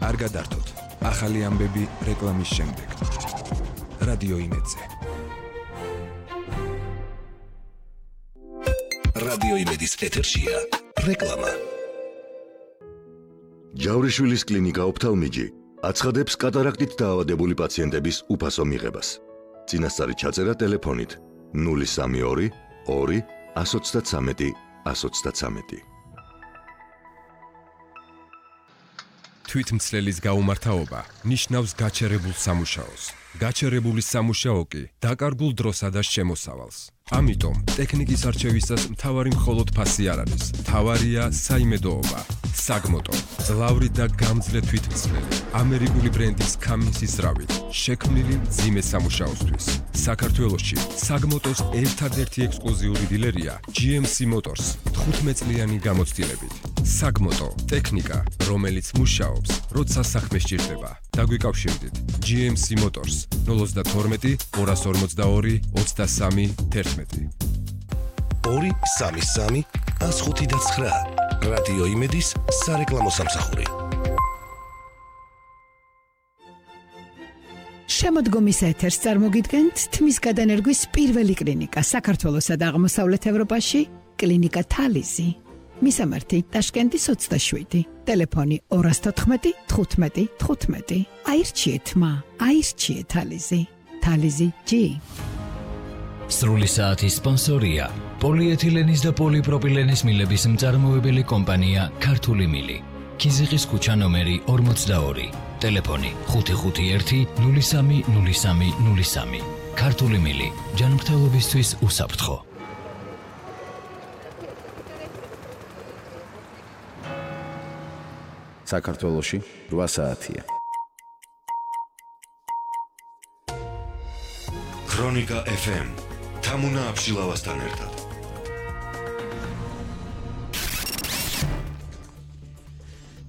არ გადართოთ. ახალი ამბები რეკლამის შემდეგ. რადიო იმედზე. რადიო იმედის ეთერშია რეკლამა. ჯავრიშვილის კლინიკა ოფთალმიჯი აცხადებს კატარაქტით დაავადებული პაციენტების უფასო მიღებას. წინასწარი ჩაწერა ტელეფონით 032 2 133 133. თვითმცლელის გაუმართავობა ნიშნავს გაჩერებულ სამუშაოს. გაჩერებული სამუშაო კი დაკარგულ დროსა და შემოსავალს. ამიტომ ტექნიკის არჩევისას მთავარი მხოლოდ ფასი არ არის. მთავარია საიმედოობა. საგმოტო, ძლავრი და გამძლე თვითმცლელი, ამერიკული ბრენდის Cummins-ის რავით, შექმნილი მძიმე სამუშაოსთვის. საქართველოში საგმოტოს ერთადერთი ექსკლუზიური დილერია GMC Motors 15 წლიანი გამოცდილებით. საგმოტო, ტექნიკა, რომელიც მუშაობს, როცა საქმე სჭირდება. დაგვიკავშირდით GMC Motors 012 242 23 11. 233 159. რადიო იმედის სარეკლამო სამსახური. შემოდგომის ეთერს წარმოგიდგენთ თმის გადანერგვის პირველი კლინიკა საქართველოსა და აღმოსავლეთ ევროპაში, კლინიკა თალიზი. მისამართი ტაშკენტის 27, ტელეფონი 214 15 15. აირჩიეთ მა, აირჩიეთ თალიზი. თალიზი G. სრული საათის სპონსორია პოლიეთილენის და პოლიპროპილენის მილების მწარმოებელი კომპანია ქართული მილი. ქიზიყის ქუჩა ნომერი 42, ტელეფონი 551 03 03 03. ქართული მილი, ჯანმრთელობისთვის უსაფრთხო. საქართველოში 8 საათია. ქრონიკა FM თამუნა აფშილავასთან ერთად.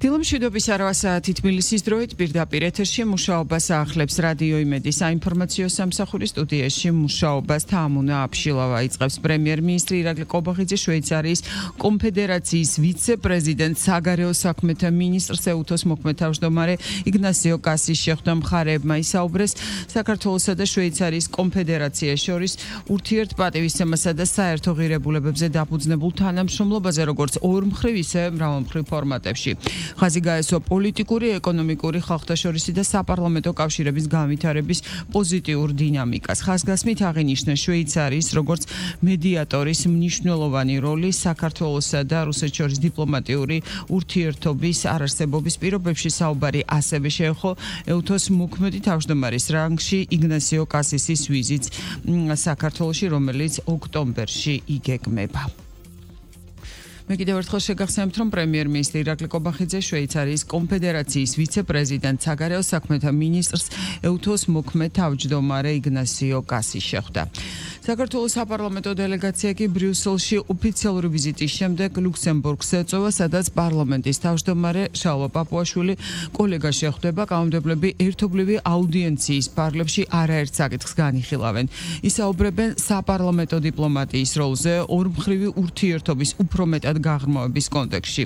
დილომშვიდობის 8 საათი თბილისის დროით პირდაპირ ეთერში მუშაობას აახლებს რადიო იმედის საინფორმაციო სამსახური. სტუდიაში მუშაობას თამუნა აფშილავა იწყებს. პრემიერ-მინისტრი ირაკლი კობახიძე შვეიცარიის კონფედერაციის ვიცე-პრეზიდენტ საგარეო საქმეთა მინისტრს ეუთოს მოქმედ-თავმჯდომარე იგნასიო კასის შეხვდა. მხარეებმა ისაუბრეს საქართველოსა და შვეიცარიის კონფედერაციას შორის ურთიერთპატივისცემასა და საერთო ღირებულებებზე დაფუძნებულ თანამშრომლობაზე, როგორც ორმხრივ, ისე მრავალმხრივ ფორმატებში. ხაზი გაესვა პოლიტიკური, ეკონომიკური, ხალხთაშორისი და საპარლამენტო კავშირების განვითარების პოზიტიურ დინამიკას. ხაზგასმით აღინიშნა შვეიცარიის როგორც მედიატორის მნიშვნელოვანი როლი საქართველოსა და რუსეთს შორის დიპლომატიური ურთიერთობის არარსებობის პირობებში. საუბარი ასევე შეეხო ეუთოს მოქმედი თავმჯდომარის რანგში იგნასიო კასისის ვიზიტს საქართველოში, რომელიც ოქტომბერში იგეგმება. მე კიდევ ერთხელ შეგახსენებთ, რომ პრემიერ-მინისტრი ირაკლი კობახიძე შვეიცარიის კონფედერაციის ვიცე-პრეზიდენტ საგარეო საქმეთა მინისტრს ეუთოს მოქმედ თავმჯდომარე იგნასიო კასის შეხვდა. საქართველოს საპარლამენტო დელეგაცია კი ბრიუსელში ოფიციალური ვიზიტის შემდეგ ლუქსემბურგს ეწევა, სადაც პარლამენტის თავმჯდომარე შალვა პაპუაშვილი კოლეგა შეხვდება. კანონმდებლები ერთობლივი აუდიენციის პარლებში არაერთ საკითხს განიხილავენ. ისაუბრებენ საპარლამენტო დიპლომატიის როლზე ორმხრივი ურთიერთობის უფრო მეტად გაღრმავების კონტექსტში.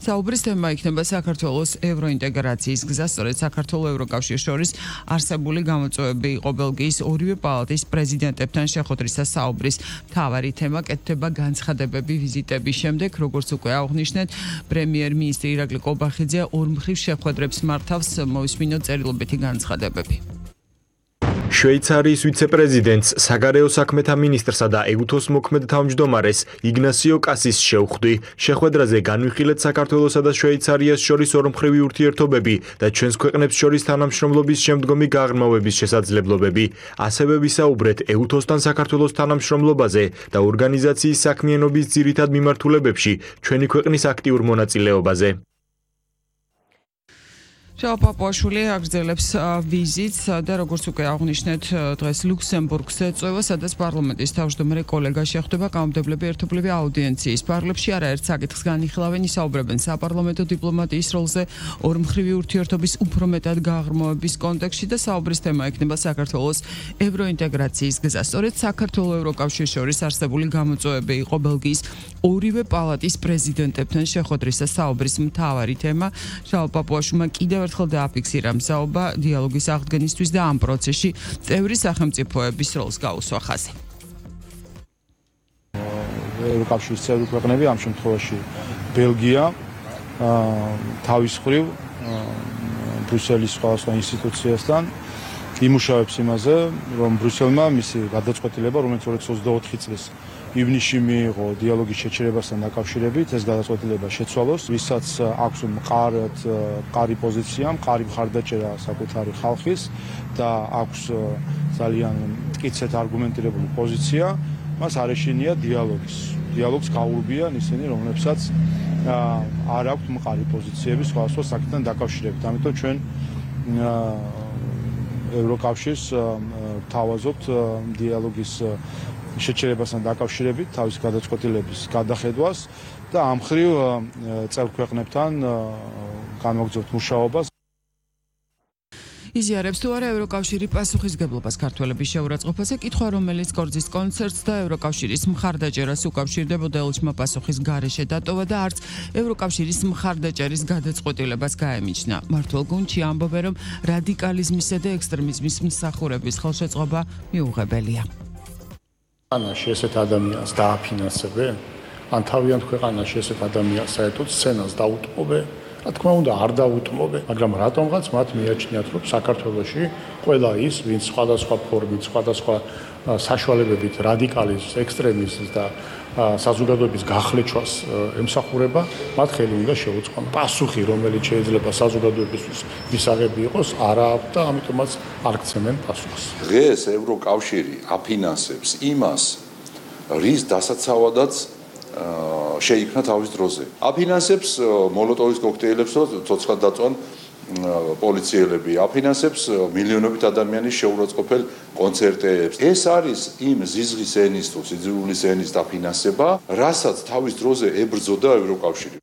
საუბრის თემა იქნება საქართველოს ევროინტეგრაციის გზა. სწორედ საქართველოს ევროკავშირის შორის არსებული გამოწვევები იყო ბელგიის ორივე პალატის პრეზიდენტებთან შეხვედრისა. საუბრის მთავარი თემა კეთდება განცხადებები ვიზიტების შემდეგ, როგორც უკვე აღნიშნეთ, პრემიერ-მინისტრი ირაკლი კობახიძე ორმხრივ შეხვედრებს მართავს. მოვისმინოთ წერილობითი განცხადებები. შვეიცარიის ვიცე-პრეზიდენტს, საგარეო საქმეთა მინისტრსა და ეუთოს მოქმედ თავმჯდომარეს იგნასიო კასის შევხვდი. შეხვედრაზე განვიხილეთ საქართველოსა და შვეიცარიას შორის ორმხრივი ურთიერთობები და ჩვენს ქვეყნებს შორის თანამშრომლობის შემდგომი გაღრმავების შესაძლებლობები. ასევე ვისაუბრეთ ეუთოსთან საქართველოს თანამშრომლობაზე და ორგანიზაციის საქმიანობის ძირითად მიმართულებებში ჩვენი ქვეყნის აქტიურ მონაწილეობაზე. შალვა პაპუაშვილი აგრძელებს ვიზიტს და როგორც უკვე აღნიშნეთ, დღეს ლუქსემბურგს ეწევა, სადაც პარლამენტის თავმჯდომარე კოლეგა შეხვდება. კანონმდებლები ერთობლივი აუდიენციის პარლებში არაერთ საკითხს განიხილავენ. ისაუბრებენ საპარლამენტო დიპლომატიის როლზე ორმხრივი ურთიერთობის უფრო მეტად გაღრმავების კონტექსტში და საუბრის თემა იქნება საქართველოს ევროინტეგრაციის გზა. სწორედ საქართველოს ევროკავშირის შორის არსებული გამოწვევები იყო ბელგიის ორივე პალატის პრეზიდენტებთან შეხვედრისა. საუბრის მთავარი თემა შალვა პაპუაშვილმა კიდევ ერთხელ დააფიქსირა მსაობა დიალოგის აღდგენისთვის და ამ პროცესში წევრი სახელმწიფოების როლს გაუსვა ხაზი. ევროკავშირის წევრი ქვეყნები, ამ შემთხვევაში ბელგია, თავის მხრივ ბრიუსელის სხვადასხვა ინსტიტუციასთან იმუშავებს იმაზე, რომ ბრიუსელმა მისი გადაწყვეტილება, რომელიც 2024 წლის ივნისში მიიღო დიალოგის შეჩერებასთან დაკავშირებით, ეს გადაწყვეტილება შეცვალოს, ვისაც აქვს მყარი პოზიცია, მყარი მხარდაჭერა საკუთარი ხალხის და აქვს ძალიან მტკიცედ არგუმენტირებული პოზიცია, მას არ ეშინია დიალოგს გაურბიან ისინი, რომლებსაც არ აქვთ მყარი პოზიციები სხვადასხვა საკითხთან დაკავშირებით. ამიტომ ჩვენ ევროკავშირს თავაზობთ დიალოგის შეჩერებასთან დაკავშირებით თავის გადაწყვეტილების გადახედვას და ამ მხრივ წევრ ქვეყნებთან განვაგრძობთ მუშაობას. იზიარებს თუ არა ევროკავშირი პასუხისგებლობას ქართველების შეურაცხყოფაზე, კითხვა რომელიც კორძის კონცერტს და ევროკავშირის მხარდაჭერას უკავშირდებოდა ელჩმა პასუხის გარეშე დატოვა და არც ევროკავშირის მხარდაჭერის გადაწყვეტილებას გაემიჯნა. მართლ გუნდში ამბობენ, რომ რადიკალიზმისა და ექსტრემიზმის მსახურების ხელშეწყობა მიუღებელია. ქვეყანაში ესეთ ადამიანს დააფინანსებენ? ან თავიანთ ქვეყანაში ესეთ ადამიანს საერთოდ სცენას დაუთმობენ? რა თქმა უნდა, არ დაუთმობენ, მაგრამ რატომღაც მათ მიაჩნიათ, რომ საქართველოში ყველა ის, ვინც სხვადასხვა ფორმით, სხვადასხვა საშუალებებით რადიკალიზმს, ექსტრემიზმს და საზოგადოების გახლეჩვას ემსახურება, მათ ხელი უნდა შეუწყონ. პასუხი, რომელიც შეიძლება საზოგადოებისთვის მისაღები იყოს, არა აქვს და ამიტომაც არ გცემენ პასუხს. დღეს ევროკავშირი აფინანსებს იმას, რის დასაცავადაც შეიქმნა თავის დროზე. აფინანსებს მოლოტოვის კოქტეილებს, ცოცხლად დაწვან პოლიციელები, აფინანსებს მილიონობით ადამიანის შეურაცხყოფელ კონცერტებს. ეს არის იმ ზიზღის ენის თუ სიძულვილის ენის დაფინანსება, რასაც თავის დროზე ებრძოდა ევროკავშირი.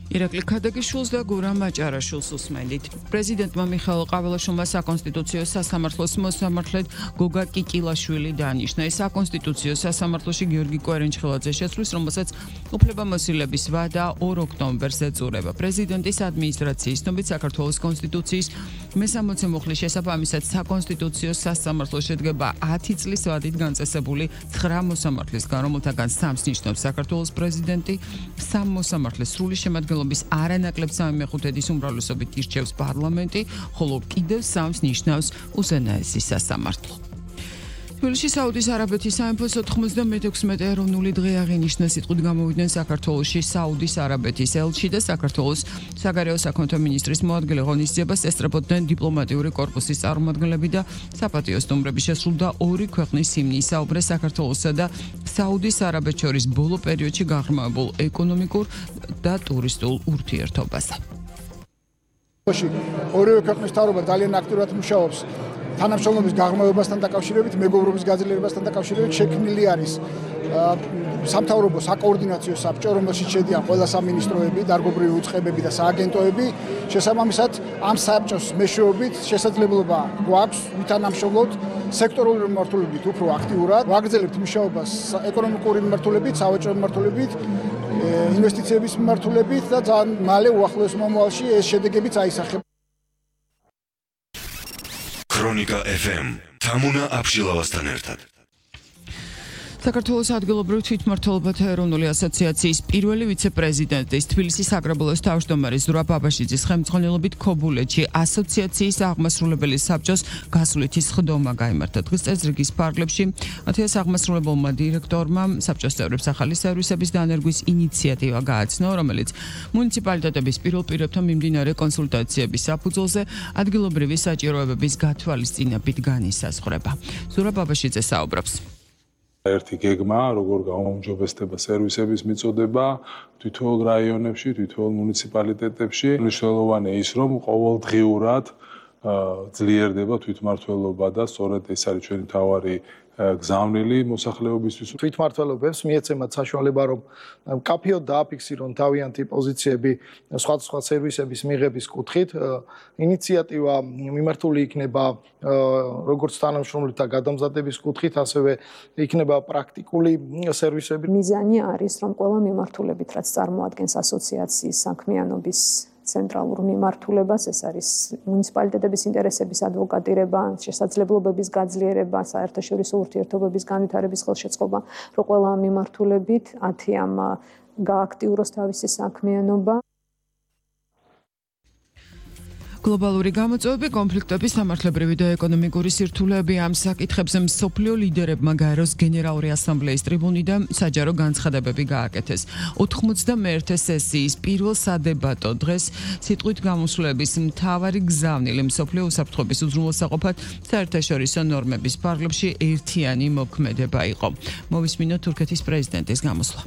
ირაკლი ქადაგიშვილს და გურამ მაჭარაშვილს უსმენდით. პრეზიდენტმა მიხეილ ყაველაშვილმა საკონსტიტუციო სასამართლოს მოსამართლედ გოგა კიკილაშვილი დანიშნა. ეს საკონსტიტუციო სასამართლოში გიორგი კვერენჩხელაძე შეცვლის, რომელსაც უფლებამოსილების ვადა 2 ოქტომბერს ეწურება. პრეზიდენტის ადმინისტრაციის ცნობით საქართველოს კონსტიტუციის მე-60 მუხლის შესაბამისად საკონსტიტუციო სასამართლო შედგება 10 წლის ვადით განწესებული 9 მოსამართლისგან, რომელთაგან 3-ს ნიშნავს საქართველოს პრეზიდენტი, 3 მოსამართლეს სრული შემადგენლობის არანაკლებ 3/5 უმრავლესობით ირჩევს პარლამენტი, ხოლო კიდევ 3-ს ნიშნავს უზენაესი სასამართლო. თბილისში საუდის არაბეთის სამეფოს 96 ეროვნული დღე აღინიშნა. სიტყვით გამოვიდნენ საქართველოში საუდის არაბეთის ელჩი და საქართველოს საგარეო საქმეთა მინისტრის მოადგილე. ღონისძიებას ესწრებოდნენ დიპლომატიური კორპუსის წარმომადგენლები და საპატიო სტუმრები. შესრულდა 2 ქვეყნის ჰიმნი. საუბრეს საქართველოსა და საუდის არაბეთს შორის ბოლო პერიოდში გაღრმავებულ ეკონომიკურ და ტურისტულ ურთიერთობაზე. ორივე ქვეყნის მთავრობა ძალიან აქტიურად მუშაობს თანამშრომლობის გაღრმავებასთან დაკავშირებით, მეგობრობის გაძლიერებასთან დაკავშირებით. შექმნილი არის სამთავრობო საკოორდინაციო საბჭო, რომელშიც შედიან ყველა სამინისტროები, დარგობრივი უწყებები და სააგენტოები. შესაბამისად, ამ საბჭოს მეშვეობით შესაძლებლობა გვაქვს ვითანამშრომლოთ სექტორული მიმართულებით უფრო აქტიურად. ვაგრძელებთ მუშაობას ეკონომიკური მიმართულებით, სავაჭრო მიმართულებით, ინვესტიციების მიმართულებით და ძალიან მალე უახლოეს მომავალში ეს შედეგებიც აისახება. ქრონიკა FM თამუნა აფშილავასთან ერთად. საქართველოს ადგილობრივ თვითმმართველობათა ეროვნული ასოციაციის პირველი ვიცე-პრეზიდენტის თბილისის აგრაბულოს თავმჯდომარის ზურაბ აბაშიძის ხელმძღვანელობით ქობულეთში ასოციაციის აღმასრულებელი საბჭოს გასვლითი სხდომა გაიმართა. დღეს წესრიგის ფარგლებში 1000 აღმასრულებელმა დირექტორმა საბჭოს წევრებს ახალი სერვისების დანერგვის ინიციატივა გააცნო, რომელიც მუნიციპალიტეტების პირველ პირებთან მიმდინარე კონსულტაციების საფუძველზე ადგილობრივი საჭიროებების გათვალისწინებით განისაზღვრება. ზურაბ აბაშიძე საუბრობს. ერთი გეგმა, როგორ გაუმჯობესდება სერვისების მიწოდება თითოეულ რაიონებში, თითოეულ მუნიციპალიტეტებში. მნიშვნელოვანია ის, რომ ყოველდღიურად ძლიერდება თვითმმართველობა და სწორედ ეს არის ჩვენი მთავარი გზავნილი მოსახლეობისთვის. თვითმმართველობებს მიეცემათ საშუალება, რომ კაფეოდ დააფიქსირონ თავიანთი პოზიციები სხვადასხვა სერვისების მიღების კუთხით. ინიციატივა მიმართული იქნება როგორც თანამშრომლთა გადამზადების კუთხით, ასევე იქნება პრაქტიკული სერვისები. მიზანი არის, რომ ყველა მიმართულებით, რაც წარმოადგენს ასოციაციის საქმიანობის ცენტრალურ მიმართულებას, ეს არის მუნიციპალიტეტების ინტერესების ადვოკატირება, შესაძლებლობების გაძლიერება, საერთაშორისო ურთიერთობების განვითარების ხელშეწყობა, რომ ყველა მიმართულებით 10-ამ გააქტიუროს თავისი საქმიანობა. გლობალური გამოწვევები, კონფლიქტების, სამართლებრივი და ეკონომიკური სირთულეები ამ საკითხებზე მსოფლიო ლიდერებმა გაეროს გენერალური ასამბლეის ტრიბუნიდან საჯარო განცხადებები გააკეთეს. 91 სესიის პირველ სადებატო დღეს სიტყვით გამოსვლების მთავარი გზავნილი მსოფლიო უსაფრთხოების უზრუნველსაყოფად საერთაშორისო ნორმების ფარგლებში ერთიანი მოქმედება იყო. მოვისმინოთ თურქეთის პრეზიდენტის გამოსვლა.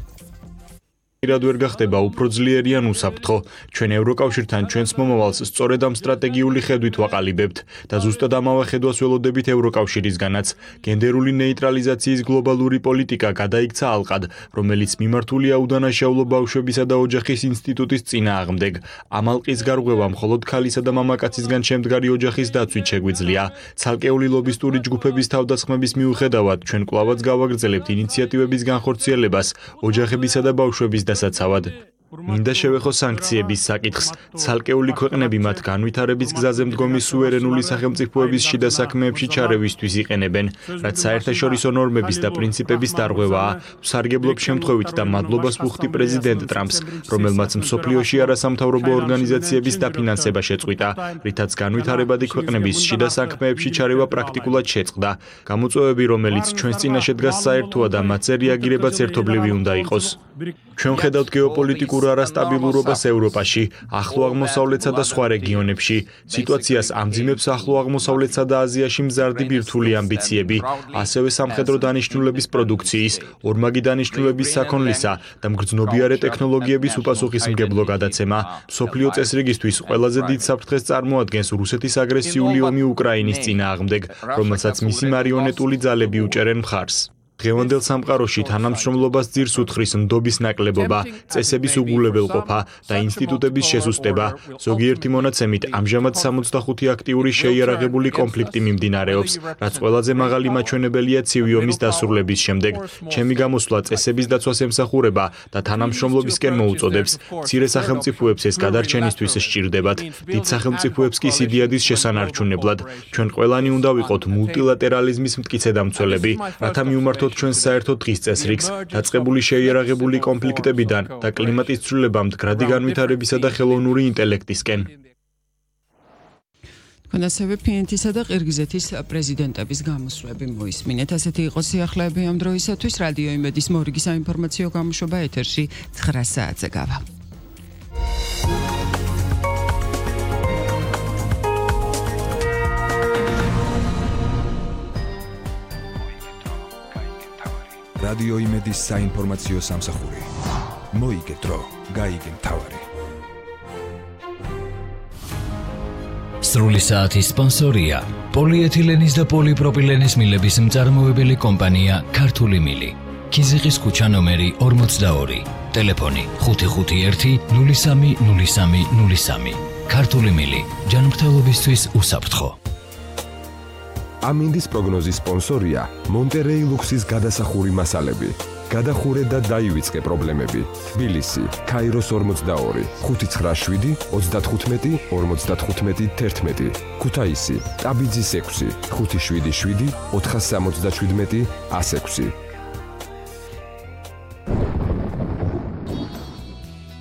პირად ვერ გახდება უფრო ძლიერი ან უსაფრთხო. ჩვენ ევროკავშირთან ჩვენს მომავალს სწორედ ამ სტრატეგიული ხედვით ვაყალიბებთ და ზუსტად ამავე ხედვას ველოდებით ევროკავშირისგანაც. გენდერული ნეიტრალიზაციის გლობალური პოლიტიკა გადაიქცა ალყად, რომელიც მიმართულია უდანაშაულო ბავშვებისა და ოჯახის ინსტიტუტის წინააღმდეგ. ამ ალყის გარღვევა მხოლოდ ქალისა და მამაკაცისგან შემდგარი ოჯახის დაცვით შეგვიძლია. ცალკეული ლობისტური ჯგუფების თავდასხმების მიუხედავად, ჩვენ კვლავაც გავაგრძელებთ ინიციატივების განხორციელებას ოჯახებისა და ბავშვების დასაცავად. მინდა შევეხო სანქციების საკითხს. ცალკეული ქვეყნები მათ განვითარების გზაზე მდგომი სუვერენული სახელმწიფოების შიდა საქმეებში ჩარევისთვის იყენებენ, რაც საერთაშორისო ნორმების და პრინციპების დარღვევაა. ვსარგებლობ შემთხვევით და მადლობას ვუხდი პრეზიდენტ ტრამპს, რომელმაც მსოფლიოში არასამთავრობო ორგანიზაციების დაფინანსება შეწყვიტა, რითაც განვითარებადი ქვეყნების შიდა საქმეებში ჩარევა პრაქტიკულად შეწყდა. გამოწვევები, რომელიც ჩვენს წინაშე დგას საერთოა და მათზე რეაგირებაც ერთობლივი უნდა იყოს. ჩვენ ხედავთ გეოპოლიტიკურ არასტაბილურობას ევროპაში, ახლო აღმოსავლეთსა და სხვა რეგიონებში. სიტუაციას ამძიმებს ახლო აღმოსავლეთსა და აზიაში მზარდი ბირთვული ამბიციები, ასევე სამხედრო დანიშნულების პროდუქციის, ორმაგი დანიშნულების საქონლისა და მგრძნობიარე ტექნოლოგიების უპასუხისმგებლო გადაცემა. მსოფლიო წესრიგისთვის ყველაზე დიდ საფრთხეს წარმოადგენს რუსეთის აგრესიული ომი უკრაინის წინააღმდეგ, რომელსაც მისი მარიონეტული ძალები უჭერენ მხარს. დღევანდელ სამყაროში თანამშრომლობას ძირს უთხრის ნდობის ნაკლებობა, წესების უგულებელყოფა და ინსტიტუტების შესუსტება. ზოგიერთი მონაცემით ამჟამად 65 აქტიური შეიარაღებული კონფლიქტი მიმდინარეობს, რაც ყველაზე მაღალი მაჩვენებელია ცივი ომის დასრულების შემდეგ. ჩემი გამოსვლა წესების დაცვას ემსახურება და თანამშრომლობისკენ მოუწოდებს. მცირე სახელმწიფოებს ეს გადარჩენისთვის სჭირდებათ, დიდ სახელმწიფოებს კი სიდიადის შესანარჩუნებლად. ჩვენ ყველანი უნდა ვიყოთ მულტილატერალიზმის მტკიცე დამცველები, რათა მიუმართოთ ჩვენ საერთო დღის წესრიგს, დაწყებული შეიარაღებული კონფლიქტებიდან და კლიმატის ცვლილებამ მდგრადი განვითარებისა და ხელოვნური ინტელექტისკენ. თქვენ ასევე ფინეთისა და ყირგიზეთის პრეზიდენტების გამოსვლები მოისმინეთ. ასეთი იყო სიახლეები ამ დროისათვის. რადიო იმედის მორიგი საინფორმაციო გამოშვება ეთერში 9 საათზე გავა. რადიო იმედის საინფორმაციო სამსახური. მოიგე დრო, გაიგე მთავარი. სრული საათის სპონსორია პოლიეთილენის და პოლიპროპილენის მილების მწარმოებელი კომპანია ქართული მილი. ქიზიყის ქუჩა ნომერი 42. ტელეფონი 551 03 03 03. ქართული მილი. ჯანმრთელობისთვის უსაფრთხო. ამინდის პროგნოზის სპონსორია მონტერეი ლუქსის გადასახური მასალები. გადახურე და დაივიწყე პრობლემები. თბილისი, ქაიროს 42, 597 35 55 11. ქუთაისი, ტაბიძის 6, 577 477 106.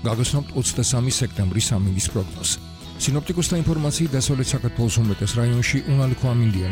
გაგოსნობთ 23 სექტემბრის ამინდის პროგნოზს. სინოპტიკოსთა ინფორმაციით დასავლეთ საქართველოს უმეტეს რაიონში უნალიქო ამინდია.